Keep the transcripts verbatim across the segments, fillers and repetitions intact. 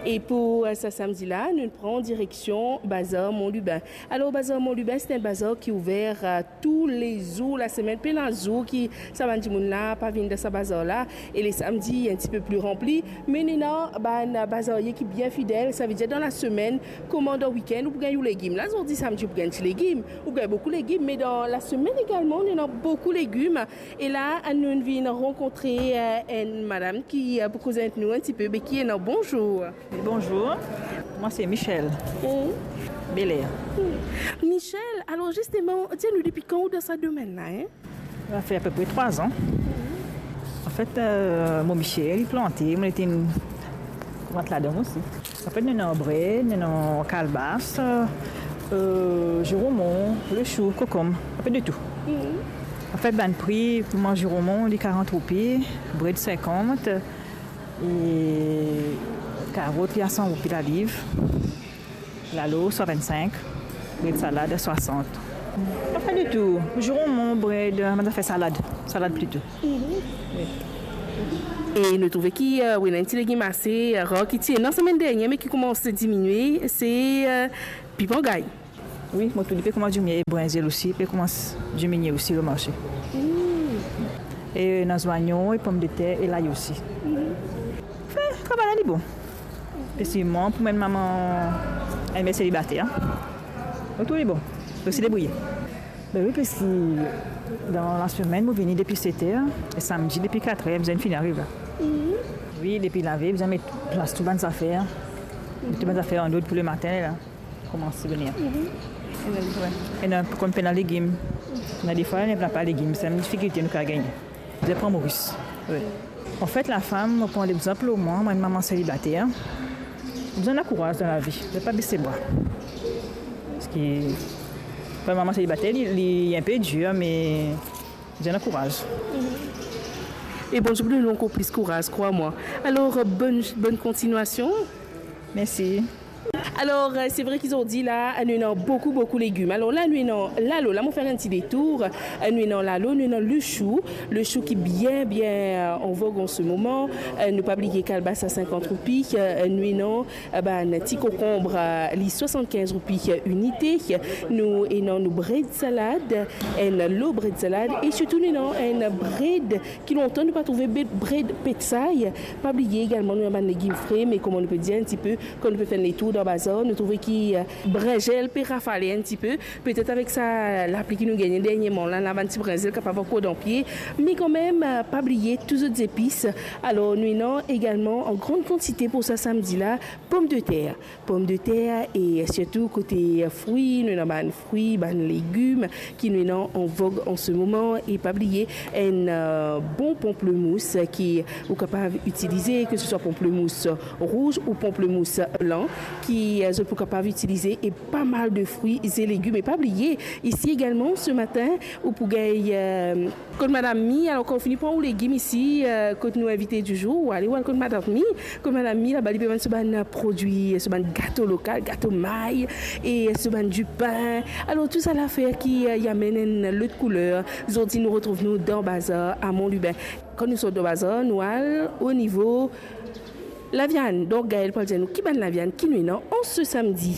E pou, eh, sa samdi la, nou pran direksion Bazar Mont Lubin. Alor, Bazar Mont Lubin, se enn bazar ki ouver, eh, toulezour lasemenn, pena zour ki sa bann dimoun la pa vinn dan sa bazar la. E le samdi, enn tipe pli ranpli. Me nou ena bann bazarie ki bien fidel, savedir dan lasemenn, kouma dan wikenn, ou pou gagn ou legim. La, zordi samdi, ou pou gagn ti legim, ou pou gagn boukou legim, me dan lasemenn egalman, nou ena boukou legim. E la, nou vinn rankontre, eh, enn madam ki, eh, pou koz avek nou enn tipe, be ki ena. Bonzour. Bonzour. Mwa se Michel. Mm. Belair. Mm. Michel, alor zisteman, dir nou depi kan ou dan sa domenn la, hein? Sa fer apepre trwa zan. Anfet, eh, mo misie, li plante, mo ete enn, plant ladan osi. Anfet, nou ena bred, nou ena kalbas, eh, ziromo, lechou, kokonm, enpe de tou. Mhm. Anfet, bann pri, pou mwa ziromo, li karant roupi, bred sinkant, e karot, li a san roupi laliv, lalo, swasann-sink, bred salad, swasant. Anfet, de tou, ziromo, bred, bann zafer salad, salad plito. Mhm. Wi. E nou trouve ki, eh, wi, ena enn ti legim ase, eh, rar ki ti ena semenn dernie, me ki koumans diminie, se, eh, pipan gay. Wi, mo trouve li pe koumans diminie, e brinzel osi, pe koumans diminie osi lor marse. Mm. E ena zwayon, e pomdeter, e lay osi. Mhm. Anfin, travay la li bon. Spesialman pou mwa, mama, enn mer selibater, hein. Mo trouve li bon. Mo osi debrouye. Be wi, paski dan lasemenn, mo vini depi set er, e samdi depi kat er, bizin finn ariv la. Mhm. Wi, depi lave, bizin met plas tou bann zafer. Met tou bann zafer an lord pou lematin, la. Koumans vini. Mhm. Ena, konn pena legim. Ena defwa, ena pa legim, se enn difikilte nou kapav gagne. Bizin pran Moris. Wi. Anfet, lafam, mo pran legzanp lor mwa, mwa enn mama selibater. Bizin lakouraz dan lavi, bizin pa bese bra. Paski pou enn mama selibater, li, li enpe dir, me bizin lakouraz. E Bondie pou donn ou ankor plis kouraz, krwar mwa. Alor, bonn, bonn kontinuasion. Mersi. Alor, eh, se vre ki zordi la, nou ena boukou, boukou legim. Alor la, nou ena lalo, la mo fer enn ti detour. Eh, nou ena lalo, nou ena lechou, lechou ki bien, bien, eh, an vog an se moman. Eh, nou pa bliye kalbas a sinkant roupi, eh, nou ena, eh, bann ti kokonb, eh, li swasannkinz roupi, eh, inite. Nou ena nou bred salad, enn lo bred salad, e sirtou nou ena enn bred ki lontan nou pa trouve, be-, bred petsay. Pa bliye egalman, nou ena bann legim fre, me kouma nou pe dir enn tipe, kan nou pe fer enn letour dan bazar, nou trouve ki, eh, brinzel pe rafale enn tipe. Petet avek sa lapli ki nou gagne dernieman la, la bann ti brinzel kapav ankor dan pie. Me kanmem, eh, pa bliye tou zot zepis. Alor, nou ena egalman an gran kantite pou sa samdi la, pomdeter. Pomdeter e sirtou kote fri, nou ena bann fri, bann legim ki nou ena an vog an se moman. E pa bliye enn, eh, bon panplemous ki ou kapav itilize, ke se swa panplemous rouz ou panplemous blan, ki, eh, zot pou kapav itilize, e pa mal de fri e legim. E pa bliye, isi egalman, se matin, ou pou gagn, eh, kot Madam Mi. Alor, kan ou fini pran ou legim isi, eh, kot nou invite di zour, ou ale, ou al kot Madam Mi. Kot Madam Mi, laba li pe vann so bann prodwi, so bann gato lokal, gato may, e so bann dipin. Alor, tou sa lafer ki, eh, amenn enn lot kouler. Zordi, nou retrouv nou dan bazar a Mont Lubin. Kan nou sort dan bazar, nou al o nivo laviann. Donk, Gaëlle pou al dir nou ki bann laviann ki nou ena an se samdi.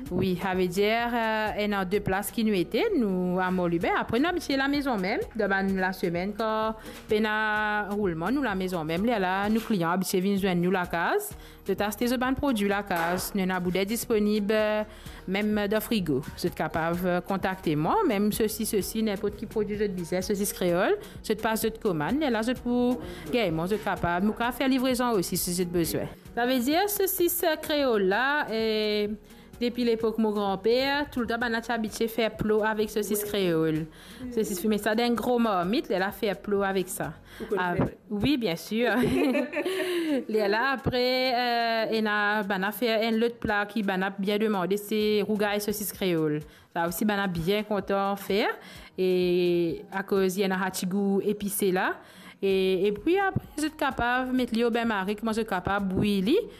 Wi, savedir, eh, ena de plas ki nou ete, nou a Mont Lubin. Apre, nou abitie lamezon mem, dan bann lasemenn, kan pena roulman, nou lamezon mem. Lerla, nou klian abitie vinn zwenn nou lakaz. Zot aste zot bann prodwi lakaz. Nou ena bouder disponib, eh, mem dan frigo. Zot kapav, eh, kontakte mwa, mem sosis osi, ninport ki prodwi zot bizin, sosis kreol. Zot pas zot komann, lerla zot pou gagn mwa, zot kapav, nou kapav fer livrezon osi si zot bizin. Savedir, sosis, eh, kreol la, eh, depi lepok mo granper, toultan bann la ti abitie fer plo avek sosis kreol. Sosis fime sa dan enn gro marmit, lerla fer plo avek sa. Ou konn fer? Wi, bien sir. Lerla apre, eh, ena bann la fer enn lot pla ki bann la bien demande, se rougay sosis kreol. Sa osi bann la bien kontan fer, e akoz li ena sa ti gou epise la. E, epi apre, zot kapav met li o bin mari, kouma zot kapav bwi li,